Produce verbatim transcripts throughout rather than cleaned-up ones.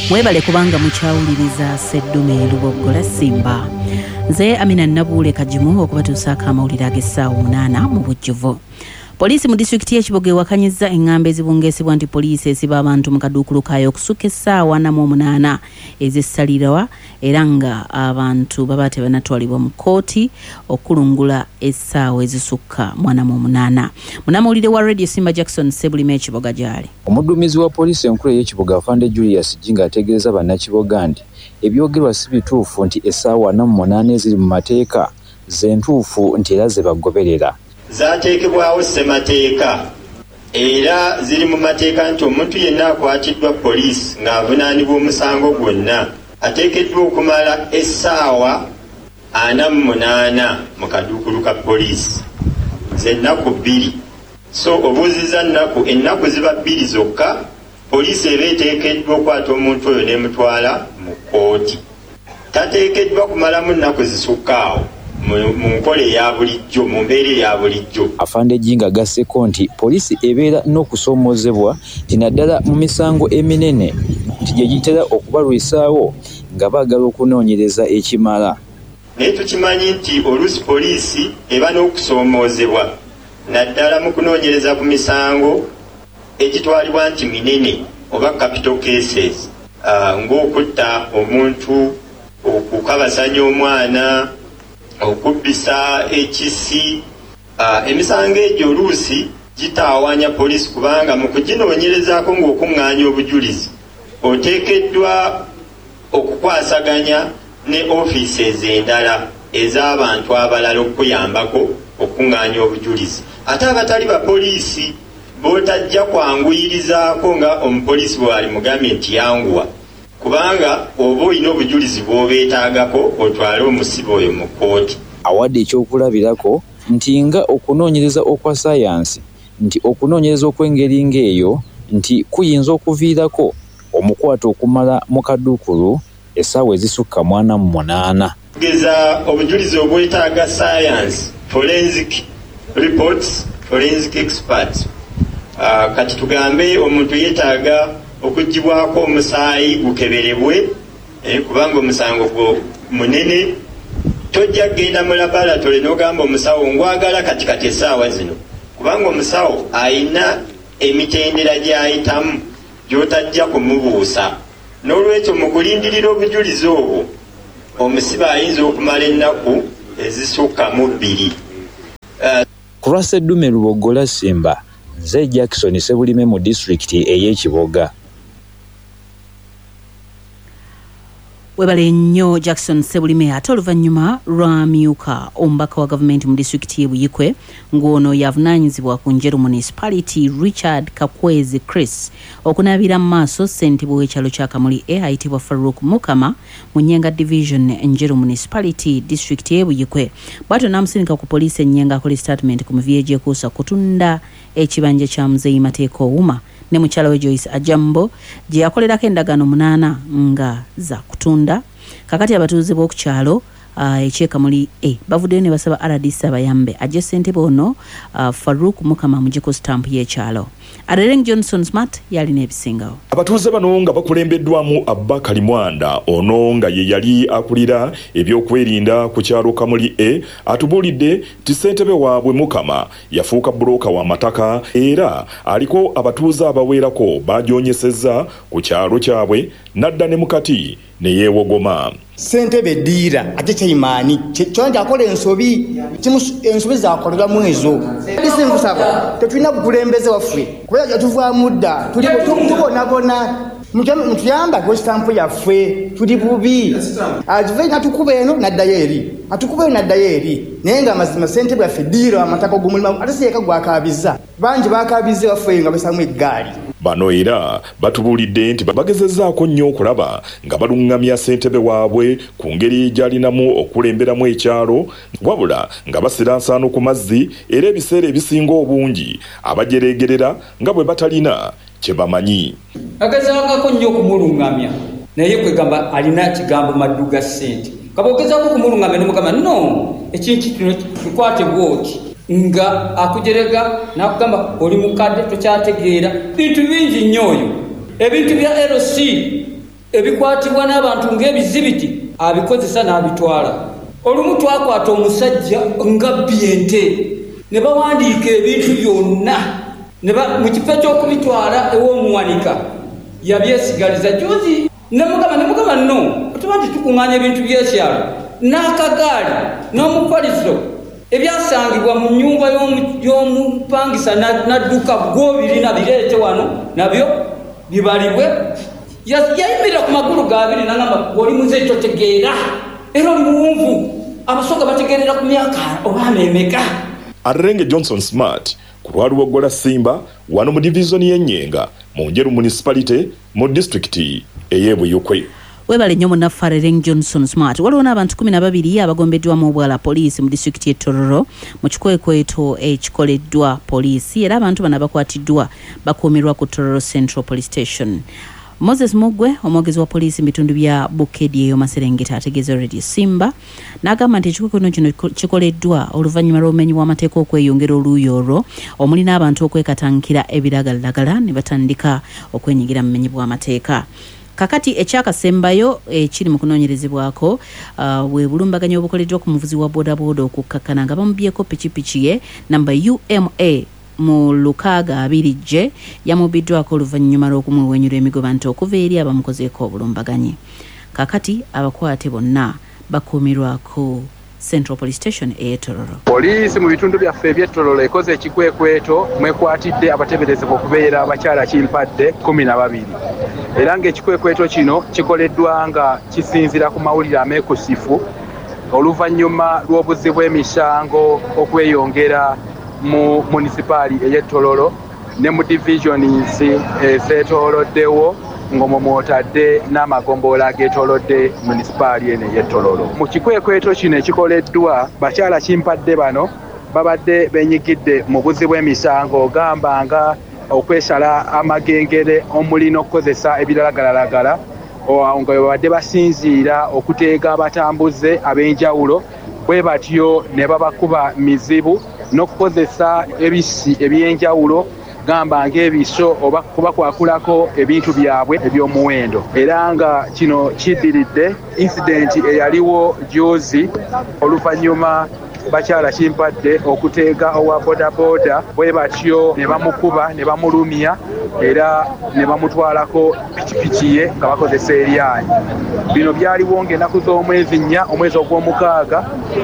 Mwebale kubanga mukyawuliriza Seddume Luboggola Simba. Nze Amina Nabuule Kagimu okubatuusaako amawulire ag'essaawa munaana mu bujjuvu. Poliisi mu disitulikiti y'e Kiboga ewakanyizza eŋŋambo ezibungeesebwa nti poliisi esiba abantu mu kaduukulu kaayo okusukka essaawa ana mu omunaana ez'essalirwa, era nga abantu baba tebannatwalibwa mu kkooti okulungula essaawa ezisukka mu ana mu omunaana. Munnamawulire wa Radio Simba Jackson Ssebulime e Kiboga gy'ali. Omudduumizi wa poliisi enkulu ey'e Kiboga, Afande Julius Jinga, ategeeza bannakiboga nti ebyogerwa si bituufu, nti essaawa ana mu munaana eziri mu mateeka ze ntuufu, nti era ze bagoberera. Zaateekebwawo ssemateeka era ziri mu mateeka nti omuntu yenna akwatiddwa poliisi ng'avunaanibwa omusango gwonna ateekeddwa okumala essaawa ana mu munaana mu kaduukulu ka poliisi, z'ennaku bbiri. So obuuziza nnaku, ennaku ziba bbiri zokka. Poliisi eba eteekeddwa okwata omuntu oyo n'emutwala mu kkooti. Tateekeddwa kumalamu nnaku zisukka awo mu nkola eya bulijjo, mu mbeera eya bulijjo. Afande Jinga agasseko nti poliisi ebeera n'okusoomoozebwa, nti naddala mu misango eminene, nti gye gitera okubalwisaawo nga baagala okunoonyereza ekimala. Naye tukimanyi nti oluusi poliisi eba n'okusoomoozebwa, naddala mu kunoonyereza ku misango egitwalibwa nti minene oba capital cases, uh, ng'okutta omuntu, okukabasanya omwana, okubbisa ekisi. uh, emisango egyo oluusi gitaawanya poliisi, kubanga mu kuginoonyerezaako ng'okuŋŋaanya obujulizi oteekeddwa okukwasaganya ne offices endala ez'abantu abalala okuyambako okuŋŋaanya obujulizi, ate abatali bapoliisi b'otajja kwanguyirizaako nga omupoliisi bw'ali mugambye nti yanguwa, kubanga oba olina obujulizi bw'obeetaagako otwale omusibe oyo mu kkooti. Awadde ekyokulabirako nti nga okunoonyereza okwa sayansi, nti okunoonyereza okw'engeri ng'eyo nti kuyinza okuviirako omukwate okumala mu kaduukulu essaawa ezisukka mu ana mu munaana. Geza obujulizi obwetaaga science, forensic reports, forensic experts. uh, kati tugambe omuntu yeetaaga okugibwako omusaayi gukeberebwe, eh, kubanga omusango gwo munene, tojja kugenda mu laboratory n'ogamba omusawo ngwagala kati kati essaawa zino, kubanga omusawo ayina emitendera gy'ayitamu gy'otajja kumubuusa. N'olwekyo mu kulindirira obujulizi obwo omusibe ayinza okumala ennaku ezisukka mu bbiri. Ku lwa Seddume Luboggola Simba, nze Jackson Ssebulime mu disitulikiti ey'e Kiboga. Webale nnyo Jackson Ssebulime. Ate oluvannyuma lw'amyuka omubaka wa gavumenti mu disitulikiti y'e Buikwe, ng'ono yavunaanyizibwa ku Njeru Municipality, Richard Kakwezi Chris, okunaabira mu maaso ssentebe w'ekyalo kya Kamuli A ayitibwa Farouk Mukama mu Nyenga Division, Njeru Municipality, disitulikiti y'e Buikwe, bw'atyo n'amusindika ku poliisi e Nyenga akola statement ku mivuyo egyekuusa kutunda ekibanja kya Muzeeyi Mateeka Owuma ne mukyala we Joyce Ajambo gye yakolerako endagaano munaana nga za kutunda. Kakati abatuuze b'oku kyalo uh, eky'e Kamuli A bavuddeyo ne basaba R D C abayambe ajje ssentebe ono uh, Farouk Mukama amuggyeko sitampu y'ekyalo. Adereng Johnson Smart yalina ebisingawo. Abatuuze bano nga bakulembeddwamu Abba Kalimwanda, ono nga ye yali akulira ebyokwerinda ku kyalo Kamuli A, atubuulidde nti ssentebe waabwe Mukama yafuuka bbulooka w'amataka, era aliko abatuuze abawerako bajoonyesezza ku kyalo kyabwe n'adda ne mukati ne yeewogoma. Ssentebe ddiira ate kyayimaani kyona nti akola ensobi, ensobi zakoleramu ezo. Nkusaba, tetulina bukulembeze waffe kuba yatuvaamu dda, tubonabona. Mutuyamba ku sitampu yaffe, tuli bubi. Atuve natukuba eno naddayo eri, atukuba eno naddayo eri, naye nga amazima ssentebe yaffe ddiira amataka og'omulimu, ate si yeka gwakabiza, bangi bakabiza waffe nga basamu eggaali. Bano era batubuulidde nti bagezezzaako nnyo okulaba nga baluŋŋamya ssentebe waabwe ku ngeri gy'alinamu okukulemberamu ekyalo, wabula nga basira nsaano ku mazzi, era ebiseera ebisinga obungi abajereegerera nga bwe batalina kye bamanyi. Agezangako nnyo okumuluŋŋamya, naye kwegamba alina kigambo maddu ga ssente. Kaba ogezaako okumuluŋŋamya nomugamba no ekintu kino kikwate bwoti, nga akujerega n'akugamba oli mukadde tokyategeera bintu bingi nnyo oyo. Ebintu bya L C ebikwatibwa n'abantu ng'ebizibiti abikozesa n'abitwala. Olumu twakwata omusajja nga bbye ente ne bawandiika ebintu byonna mu kifo ky'okubitwala ew'omuwanika yabyesigaliza. Juzi ne mugamba ne mugamba no tuba nti tukuŋŋaanya ebintu by'ekyalo n'akagaali n'omufaliso ebyasangibwa mu nnyumba y'omupangisa n'adduka gw'obirina bireete wano nabyo bibalibwe. Yayimirira ku magulu g'abiri n'agamba oli muze totegeera era oli muwunvu, abasoga bategeerera ku myaka oba ameemeka. Arenge Johnson Smart ku lwaluwoggola Simba wano mu divizoni y'Ennyenga mu Njeru Municipality mu disitulikiti ey'e Buyukwe. Webale nnyo munnaffe Areng Johnson Smart. Waliwo n'abantu kumi na babiri abagombeddwamu obwala poliisi mu disitulikiti y'e Tororo mu kikwekweto ekikoleddwa poliisi, era abantu bano abakwatiddwa bakuumirwa ku Tororo Central Police Station. Moses Mugwe, omwogezi wa poliisi mu bitundu bya Bukedi eyo Maserengeta, ategeeza Radio Simba n'agamba nti ekikwekweto kino kikoleddwa oluvannyuma lw'obumenyi bw'amateeka okweyongera oluuyi olwo omuli n'abantu okwekatankira ebiragalalagala ne batandika okwenyigira mu bumenyi bw'amateeka. Kakati ekyakasembayo ekiri mu kunoonyerezebwako uh, bwe bulumbaganyi obukoleddwa ku muvuzi wa bodaboda okukkakkana nga bamubyeko pikipiki ye namba U M A mu lukaaga abiri J yamubiddwako oluvannyuma lw'okumuwenyula emigoba nti okuva eri abamukozeeko obulumbaganyi. Kakati abakwate bonna bakuumirwako Central Police Station e Tororo. Poliisi mu bitundu byaffe eby'e Tororo ekoze ekikwekweto mwekwatidde abateeberezebwa okubeera abakyala kimpadde kkumi na babiri, era ng'ekikwekweto kino kikoleddwa nga kisinziira ku mawulire ameekusifu oluvannyuma lw'obuzzi bw'emisango okweyongera mu munisipaali ey'e Tororo ne mu divisions ezeetooloddewo ng'omwo mw'otadde n'amagombolola ageetoolodde munisipaali eno ey'e Tororo. Mu kikwekweto kino ekikoleddwa, bakyala kimpadde bano babadde beenyigidde mu buzzi bw'emisango gamba nga okwesala amagengere omuli n'okukozesa ebiragalalagala, nga babadde basinziira okuteega abatambuze ab'enjawulo bwe batyo ne babakuba mizibu n'okukozesa ebisi eby'enjawulo gamba ng'ebiso oba kubakwakulako ebintu byabwe eby'omuwendo. Era nga kino kiddiridde incident eyaliwo juzi oluvannyuma bakyala kimpadde okuteega owa bodaboda bwe batyo ne bamukuba ne bamulumya era ne bamutwalako pikipiki ye nga bakozesa eryanyi. Bino byaliwo ng'ennaku z'omwezi nnya omwezi ogw'omukaaga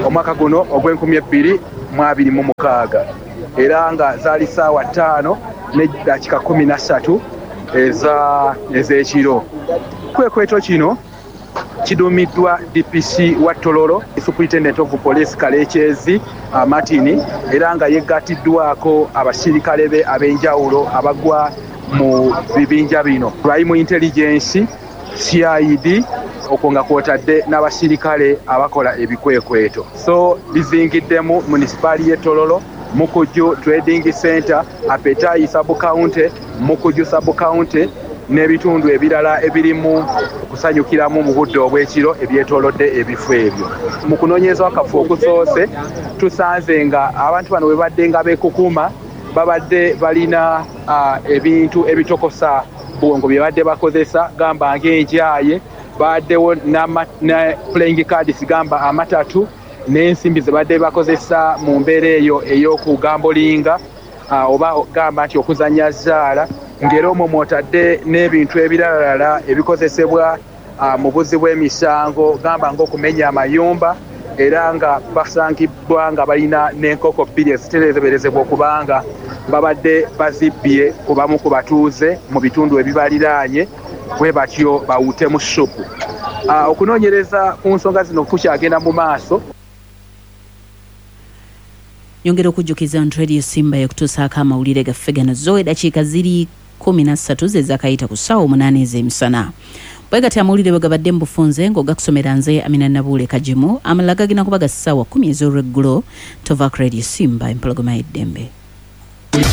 omwaka guno ogw'enkumi ebbiri mu abiri mu mukaaga, era nga zaali ssaawa ttaano n'eddakiika kkumi na ssatu ez'ekiro. Ekikwekweto kino kiduumiddwa D P C wa Tororo, Superintendent of Police Kalekyezi Martin, era nga yeggatiddwako abasirikale be ab'enjawulo abagwa mu bibinja bino: Crime Intelligence, C I D, okwo nga kwotadde n'abasirikale abakola ebikwekweto. So bizingiddemu munisipaali y'e Tororo, Mukuju Trading Center, Apetai Sub-County, Mukuju Sub-County n'ebitundu ebirala ebirimu okusanyukiramu mu budde obw'ekiro ebyetoolodde ebifo ebyo. Mu kunoonyeza akafu okusoose tusanze nga abantu bano bwe badde nga beekukuma babadde balina uh, ebintu ebitokosa bwongo bye badde bakozesa gamba ng'enjaye, baddewo ne playing cards gamba amatatu n'ensimbi ze badde bakozesa mu mbeera eyo ey'okugambolinga uh, oba gamba nti okuzannya zzaala, ng'era omwo mw'otadde n'ebintu ebiralala ebikozesebwa uh, mu buzzi bw'emisango gamba ng'okumenya amayumba, era nga basangibwa nga balina n'enkoko bbiri eziteeberezebwa okubanga babadde bazibbye ku bamu ku batuuze mu bitundu ebibaliraanye bwe batyo bawutemu ssupu. Uh, okunoonyereza ku nsonga zino kukyagenda mu maaso. Nyongera okujjukiza nti Radio Simba ekutuusaako amawulire gaffe gano zo eddakiika ziri kkumi na ssatu ze zaakayita ku ssaawa omunaana ez'emisana. Bwe gatyo amawulire bwe gabadde mu bufunze ng'ogakusomera nze Amina Nabuule Kagimu, amalala gagenda kuba ga ssaawa kkumi ez'olweggulo. Tova ku Radio Simba, empologoma y'eddembe.